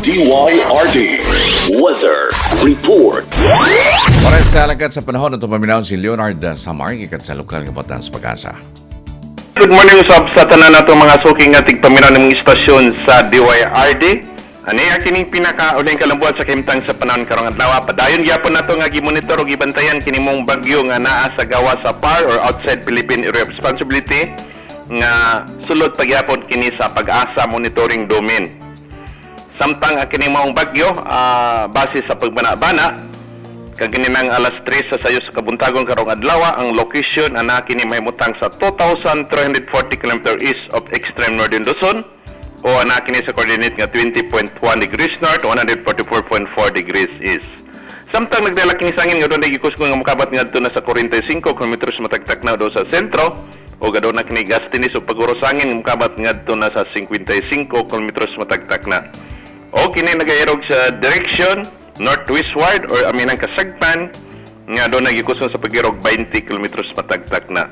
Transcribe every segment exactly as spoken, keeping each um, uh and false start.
D Y R D Weather Report. Para sa alagad sa panahon na paminaw si Leonard Samar, gikan sa lokal nga batan sa Pag-asa. Good morning usab sa tanan nato mga suki nga tigpaminaw ng istasyon sa D Y R D. Ani kining pinaka uling kalambuan sa kahimtang sa panahon karong adlaw. Padayon gyapon nato nga gimonitor ug gibantayan kini mong bagyo nga naa sa gawas sa P A R or outside Philippine Area of Responsibility nga sulod pagyapon kini sa Pag-asa monitoring domain. Samtang ang kini maong bagyo, ah, base sa pagbana-bana kaganinang alas tres sa sayo sa kabuntagon karong adlaw, ang location ana kini mahimutang sa two thousand three hundred forty kilometers east of extreme northern Luzon o ana kini sa coordinate nga twenty point one degrees north, one hundred forty-four point four degrees east. Samtang nagdala kini sa hangin nga dunay gikusgon nga mokabat ngadto na sa forty-five kilometers matagtak na do sa sentro o gaduna kini gustiness o pag-uro sa hangin nga mokabat ngadto na sa fifty-five kilometers matagtak na. O kini nagairog sa direction northwestward or aminang kasagpan nga doon nagikuson sa pagirog twenty kilometers matagtak na.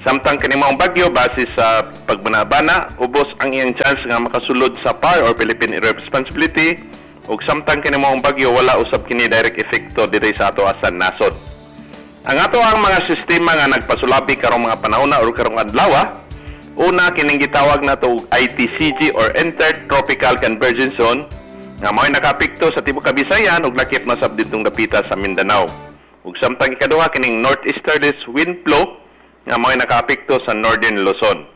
Samtang kini maong bagyo, base sa pagbanabana, ubos ang iyang chance nga makasulod sa P A R or Philippine Area of Responsibility ug samtang kini maong bagyo, wala usab kini direct epekto diri sa ato sa nasod. Ang ato ang mga sistema nga nagpasulabi karong mga panahon na or karong adlaw, una kining gitawag nato og I T C G or Intertropical Convergence Zone nga mao'y nakapikto sa tibuok Kabisayan ug lakip na sab didtong dapita sa Mindanao. Ug samtang ikaduha kining northeasterlies wind flow nga mao'y nakaapekto sa Northern Luzon.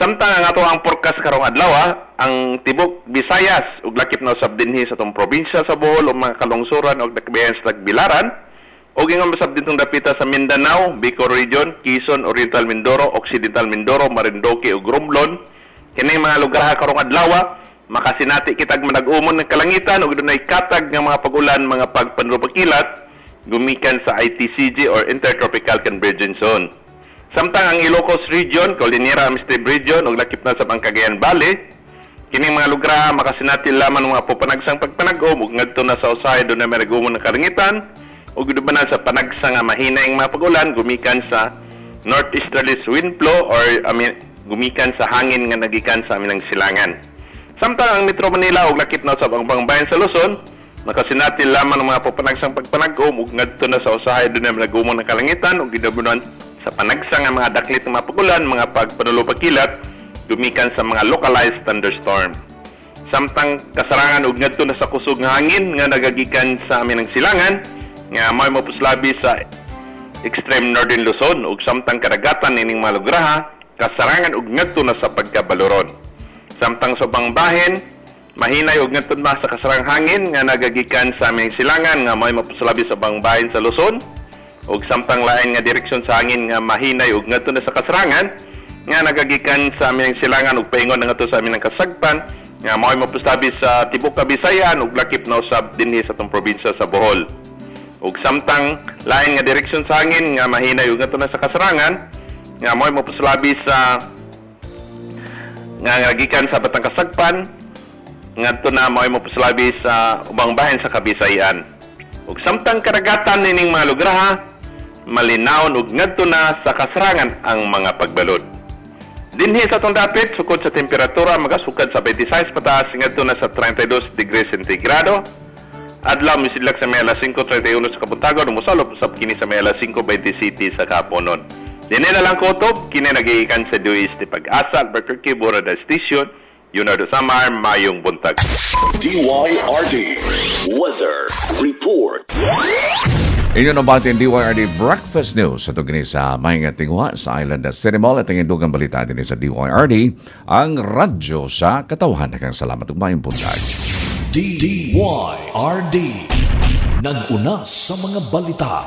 Samtang ang ato ang forecast karong adlaw, ang tibok Visayas ug lakip na usab dinhi sa atong probinsya sa Bohol ug mga kalungsuran ug dakbayan sa Tagbilaran ug ingon usab didtong dapita sa Mindanao, Bicol Region, Quezon, Oriental Mindoro, Occidental Mindoro, Marinduque ug Romblon. Kini mga lugar karong adlaw makasinati kitag manag-umon ng kalangitan ug dunay katag nga mga pag-ulan, mga pagpanlupakilat gumikan sa I T C G or Intertropical Convergence Zone. Samtang ang Ilocos Region, Cordillera Administrative Region ug lakip na sa Cagayan Valley, kining mga lugar makasinati lamang ng mga pupanagsang pagpanag-om ug ngadto na sa usahay dunay manag-umon ng kalangitan ug na sa panagsa nga mahina ang mga pag-ulan gumikan sa northeasterlies wind flow or I mean, gumikan sa hangin nga nagikan sa aminang silangan. Samtang ang Metro Manila ug lakip na sa ubang bayan sa Luzon, makasinati lamang ng mga pupanagsang pagpanag-om ug ngadto na sa usahay dunay manag-umon ng kalangitan ug gidabunan sa panagsa nga mga daklit ng mga pag-ulan, mga pagpanulupakilat gumikan sa mga localized thunderstorm. Samtang kasarangan ug ngadto na sa kusog nga hangin nga nagagikan sa aminang silangan nga may mapuslabi sa extreme northern Luzon ug samtang kadagatan nining mga lugraha kasarangan ug ngadto na sa pagkabaloron. Samtang sa ubang bahin, mahinay ug ngadto na sa kasarang hangin nga nagagikan sa aming silangan nga may mapuslabi sa ubang bahin sa Luzon ug samtang lain nga direksyon sa hangin nga mahinay ug ngadto na sa kasarangan nga nagagikan sa aming silangan ug paingon na ngadto sa aming kasagpan nga mao'y mapuslabi sa tibuok Kabisayan ug lakip na usab dinhi sa atong probinsya sa Bohol. Ug samtang lain nga direksyon sa hangin nga mahinay ug ngadto na sa kasarangan nga mao'y mapuslabi sa nga ngagikan sa Batang Kasagpan ngadto na mao'y mapuslabi sa ubang bahin sa Kabisayan. Ug samtang karagatan nining mga lugraha malinawon ug ngadto na sa kasarangan ang mga pagbalod. Dinhi sa atong dapit, sukod sa temperatura, magasukad sa twenty-six pataas ngadto na sa thirty-two degrees centigrado. Adlaw misidlak sa may alas singko trenta'y uno sa kabuntagon, musalop usab kini sa may alas singko bente siyete sa kaponon. Dinhi na lang kutob, kini nagigikan sa D O S T Pag-asa, Albuquerque, Borada Station, Leonardo Samar, mayong buntag. D Y R D Weather Report. Inyo nabati ang D Y R D Breakfast News sa kini sa Maayong Tinguha sa Island City Mall at ang indugang balita din sa D Y R D, ang radyo sa katawhan. Daghang salamat ug maayong buntag. D Y R D. Nag-una sa mga balita.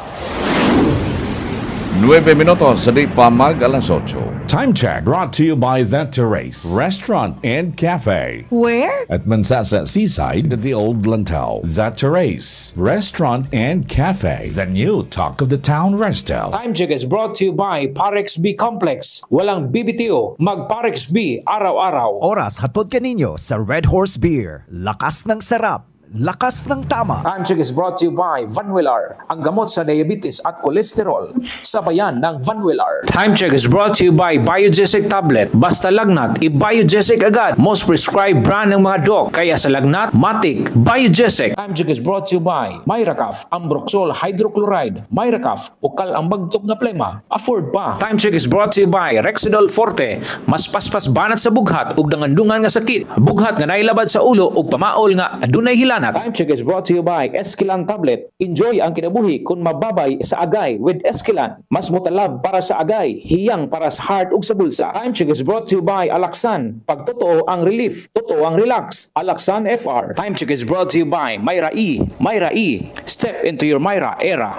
nuwebe minutos sa di pa mag alas otso. Time check brought to you by That Terrace Restaurant and Cafe. Where? At Mansasa Seaside at the Old Lantau. That Terrace Restaurant and Cafe. The new talk of the town resto. Time check is brought to you by Parex B Complex. Walang B B T O, mag Parex B araw-araw. Oras hatod kaninyo sa Red Horse Beer. Lakas ng sarap, Lakas ng tama. Time check is brought to you by Vanwillar, ang gamot sa diabetes at kolesterol. Sabayan ng Vanwillar. Time check is brought to you by Biogesic Tablet. Basta lagnat, i-Biogesic agad. Most prescribed brand ng mga doc. Kaya sa lagnat, matik, Biogesic. Time check is brought to you by Myracaf, Ambroxol Hydrochloride. Myracaf, ukal ang bagtok nga plema. Afford pa. Time check is brought to you by Rexidol Forte. Mas paspas banat sa bughat ug dangandungan nga sakit. Bughat nga nailabad sa ulo ug pamaol nga adunay hilanat. Time check is brought to you by Esquilan Tablet. Enjoy ang kinabuhi kung mababay sa agay with Esquilan. Mas mutalab para sa agay, hiyang para sa heart ug sa bulsa. Time check is brought to you by Alaxan. Pag totoo ang relief, totoo ang relax. Alaxan FR. Time check is brought to you by Myra E. Myra E. Step into your Myra era.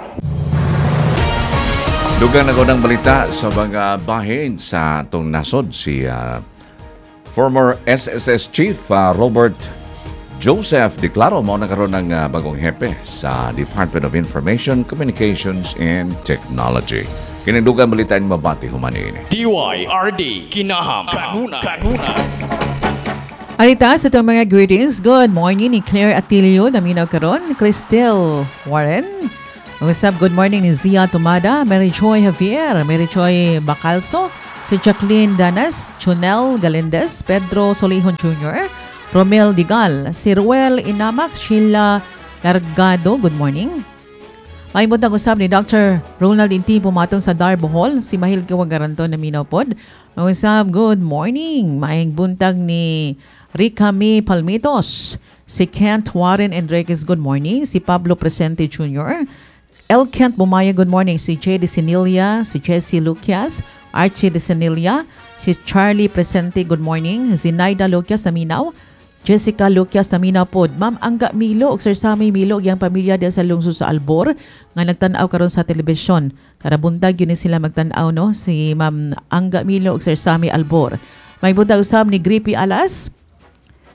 Dugang na ng balita sa mga bahin sa atong nasod si ah, former SSS Chief ah, Robert Joseph Declaro mao na karon ng ah, bagong hepe sa Department of Information, Communications and Technology. Kining dugang balita ni mabati human ini. DYRD Kinaham Kanuna Kanuna Arita sa itong mga greetings. Good morning ni Claire Atilio, naminaw karon, Cristel Warren. Usab, good morning ni Zia Tumada, Mary Joy Javier, Mary Joy Bacalso, si Jacqueline Danas, Chunel Galindez, Pedro Solihon Jr., Romel Digal, si Ruel Inamak, Sheila Largado, good morning. May buntag usab ni Dr. Ronald Inti pumatong sa Dar Bohol, si Mahil Kawagaranto na minopod. Usab, good morning. Maayong buntag ni Ricami Palmitos, si Kent Warren Enriquez, good morning. Si Pablo Presente Jr., El Kent Bumaya, good morning. Si Jay De Sinilia, si Jesse Lucias, Archie De Sinilia, si Charlie Presente, good morning. Zinaida Lucias, naminaw. Jessica Lucias naminaw pod. Ma'am Angga Milo ug Sir Sammy Milo ug iyang pamilya diya sa lungsod sa Albor nga nagtan-aw karon sa telebisyon. Karabuntag yun ni sila magtan-aw no si Ma'am Angga Milo ug Sir Sammy Albor. May buntag usab ni Grippy Alas.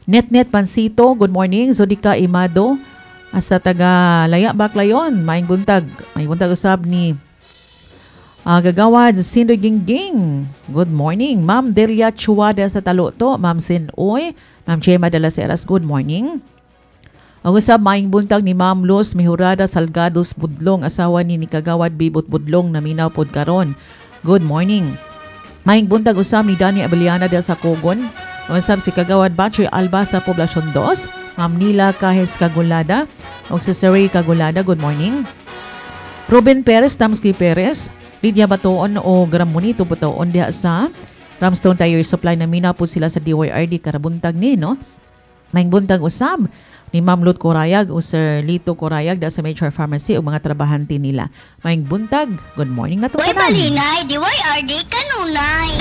Net Net Pansito, good morning. Zodika Imado, hasta taga Laya Baclayon, maayong buntag. May buntag usab ni Ah, Gagawad Sindoy Gingging. Good morning. Ma'am Delia Chuada sa Taluto. Ma'am Sinoy. Ma'am Chema de las Heras, good morning. Ang usab maayong buntag ni Ma'am Luz Mihurada Salgados Budlong, asawa ni ni Kagawad Bibot Budlong naminaw pod karon. Good morning. Maayong buntag usab ni Dani Abeliana del sa Kogon. Usab si Kagawad Bachoy Alba sa Poblacion dos. Ma'am Nila Kahes Kagulada. Ug si Sir Ray Kagulada, good morning. Ruben Perez, Tamski Perez, Lydia Batoon o Gramonito Batoon diha sa Ramstone Tire Supply na mina po sila sa DYRD karabuntag ni no. Maayong buntag usab ni Ma'am Lut Corayag o Sir Lito Corayag diha sa Major Pharmacy o mga trabahante nila. Maayong buntag. Good morning na to Way tanan. balinay, DYRD kanunay.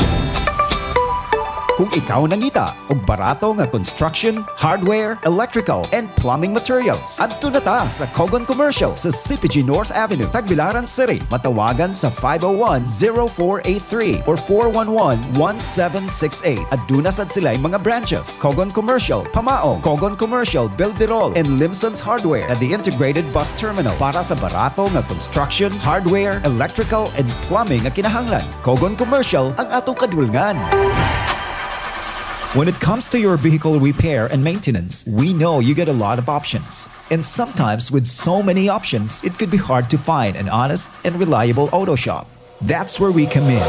Kung ikaw nangita og barato nga construction, hardware, electrical, and plumbing materials, adto na ta sa Kogon Commercial sa CPG North Avenue, Tagbilaran City. Matawagan sa five oh one, zero four eight three or four one one, one seven six eight. Aduna sad sila mga branches. Kogon Commercial, Pamaong, Kogon Commercial, Bilderol, and Limson's Hardware at the Integrated Bus Terminal para sa barato nga construction, hardware, electrical, and plumbing nga kinahanglan. Kogon Commercial ang atong kadulngan. When it comes to your vehicle repair and maintenance, we know you get a lot of options. And sometimes with so many options, it could be hard to find an honest and reliable auto shop. That's where we come in.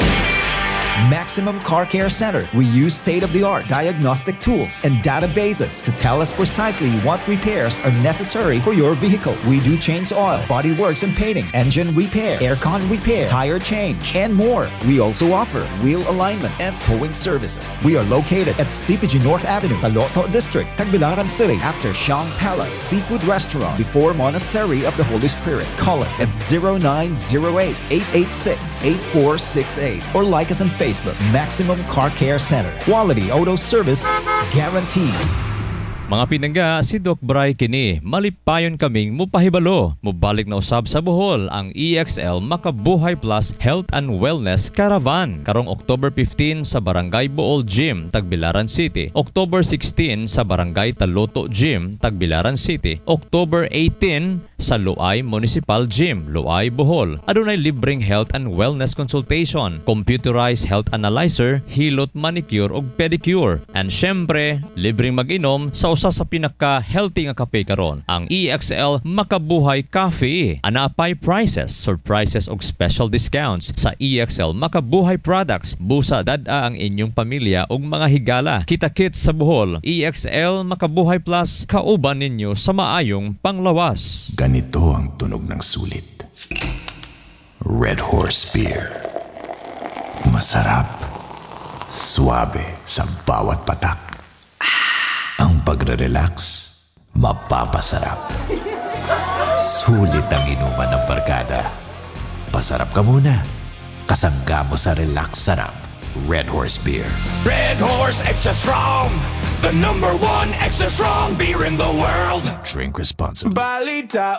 Maximum Car Care Center. We use state of the art diagnostic tools and databases to tell us precisely what repairs are necessary for your vehicle. We do change oil, body works and painting, engine repair, aircon repair, tire change, and more. We also offer wheel alignment and towing services. We are located at CPG North Avenue, Taloto District, Tagbilaran City, after Shang Palace Seafood Restaurant, before Monastery of the Holy Spirit. Call us at zero nine zero eight eight eight six eight four six eight or like us on Facebook. Maximum Car Care Center. Quality auto service guaranteed. Mga pinangga, si Doc Bry kini, malipayon kaming mupahibalo. Mubalik na usab sa Bohol ang EXL Makabuhay Plus Health and Wellness Caravan. Karong October fifteen sa Barangay Bool Gym, Tagbilaran City. October sixteen sa Barangay Taloto Gym, Tagbilaran City. October eighteen sa Loay Municipal Gym, Loay, Bohol. Adunay libreng health and wellness consultation, computerized health analyzer, hilot manicure ug pedicure. And syempre, libreng mag-inom sa usa sa pinaka-healthy nga kape karon, ang E X L Makabuhay Coffee. Anaa pay prices, surprises ug special discounts sa E X L Makabuhay products. Busa dad-a ang inyong pamilya ug mga higala. Kita-kits sa Bohol. E X L Makabuhay Plus, kauban ninyo sa maayong panglawas. Ganito ang tunog ng sulit. Red Horse Beer. Masarap. Suabe sa bawat patak. Ang pagre-relax, mapapasarap. Sulit ang inuman ng barkada. Pasarap ka muna. Kasangga mo sa relax sarap. Red Horse Beer. Red Horse Extra Strong, the number one extra strong beer in the world. Drink responsibly. Balita.